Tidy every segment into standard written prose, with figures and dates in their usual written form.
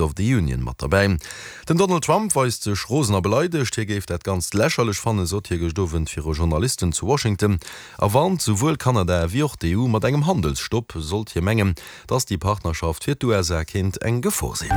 Of the Union mat derbäi. Den Donald Trump weist sech rosen a beleidegt. Hie géif dat Ganzt lächerlech fannen, sot hie gëscht Owend viru Journalisten zu Washington a warnt souwuel Kanada ewéi och d'EU mat engem Handelsstopp, sollt hie mengen, datt déi Partnerschaft fir d'USA kéint eng Gefor sinn.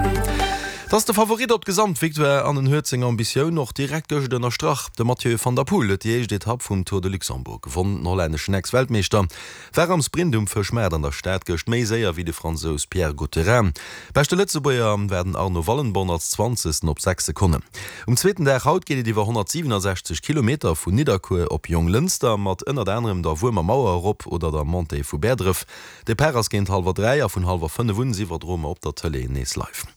Et ass de Favorit op d'Gesamtvictoire an en huet seng Ambitioun och direkt gëscht ënnerstrach. De Mathieu van der Poel huet déi éischt Etapp vum Tour de Luxembourg gewonn. Den hollänneschen Ex-Weltmeeschter War am Sprint um Fëschmaart an der Stad gëscht méi séier wéi de Fransous Pierre Gautherin. Beschte Lëtzebuerger war den Arno Wallenborn als Zwanzegsten op 6 Sekonnen. Um zweeten Dag haut geet et iwwer 167 Kilometer vun Nidderkuer op Jonglënster mat ënnert anerem der Wuermer Mauer erop oder der Montée vu Bäerdref. Depart ass géint hallwer 3 a vun hallwer 5 un iwwerdroe mer op der Tëlee nees live.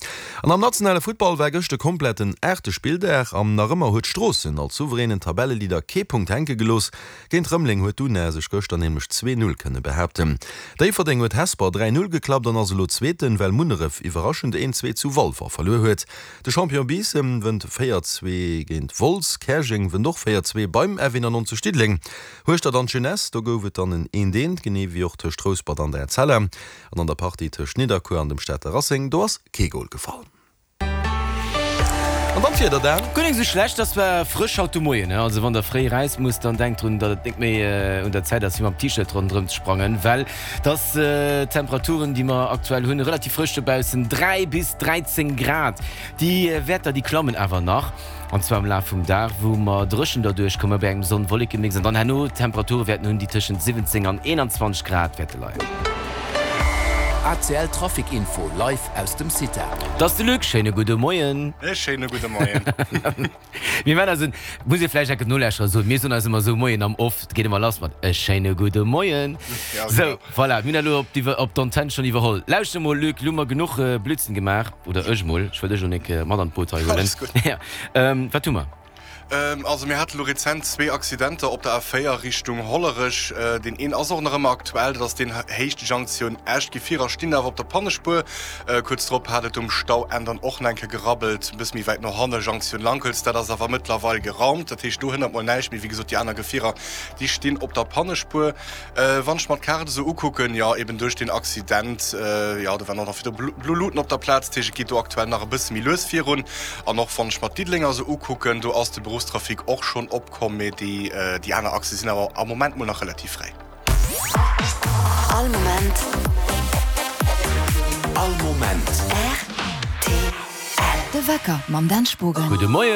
An am nationale Futtball war gëscht e kompletten aachte Spilldag an nach ëmmer huet Stroossen als souveränen Tabelleleader kee Punkt hänke gelooss. Géint Rëmeleng huet d'UNA sech gëschter nämlech 2, 0 kënne behaapten. Déifferdeng huet Hesper 3, 0 geklappt an ass elo Zweeten, well Munneref iwwerraschend 1, 2 zu Walfer verluer huet. De Champion Biissen wënnt 4, 2 géint Wolz. Käerjeng wënnt och 4, 2 beim F91 Diddeleng. Hueschtert an d'Jeunesse, do gouf et dann en 1, 1, genee wéi och tëscht Rouspert an der Etzella. An an der Partie tëscht Nidderkuer an dem Stater Racing, do ass kee Gol gefall. An dann d'Wieder, Dan. Guer nik sou schlecht, ass zwar frësch haut de Moien, also wann der fréi räus musst, dann denkt drun, datt et nik méi un der Zäit ass fir mam T-Shirt ronderëm ze sprangen, well et ass d'Temperaturen déi mer aktuell hunn relativ frësch dobaussen, 3 bis 13 Grad. Déi Wäerter déi klammen awer nach, an zwar am Laf vum Dag, wou mer dréchen derduerch komme bei engem Sonn-Wolleke-Mix an dann herno Temperature wäerten hunn, déi tëschent 17 an 21 Grad wäerte leien. ACL Trafic Info live aus dem CITA. Et ass de Luc, schéine gudde Moien. E schéine gudde Moien. Mir man eis en, muss ee vläicht enke Nolauschterer soen, mir soen eis ëmmer esou Moien am Off, et geet ëmmer lass mat e schéine gudde Moien. Ja, Sou, genau. voilà, mir hunn dat elo op d'Iwwer, op d'Antenn schonn iwwerholl. Lauschter mol Luc, lo hu mer genuch Blödsinn gemaach, oder ech mol, ech wëll dech elo nek mat an d'Boot hei huelen. Alles gutt. Ja, wat hu mer? Also mir hate lo rezent zwee Accidenter op der A4 Richtung Hollerech. Deen een ass och nach ëmmer aktuell, dat ass deen Héicht Junction Esch. D'Gefierer stinn awer op der Pannespuer. Kuerz drop hat et um Stauenn dann och nach eng Kéier gerabbelt, e bësse méi wäit no hanne Junction Lankels. Dat ass awer mëttlerweil geraumt, dat heescht do hënnert mol näischt méi. Wéi gesot, déi aner Gefierer, déi stinn op der Pannespuer. Wann ech mer d'Kaart esou ukucken, jo eben duerch deen Accident, jo do waren och nach virdru blo Luuten op der Plaz, dat heescht et geet do aktuell nach e bësse méi lues virun. An och wann ech mer d'Diddelenger esou ukucken, do ass de Beruffstrafic och schonn opkomm, mee déi déi aner Achse sinn awer am Moment mol nach relativ fräi. All Moment. All Moment. Rtl. De Wecker mam Dan Spogen. Gudde Moien.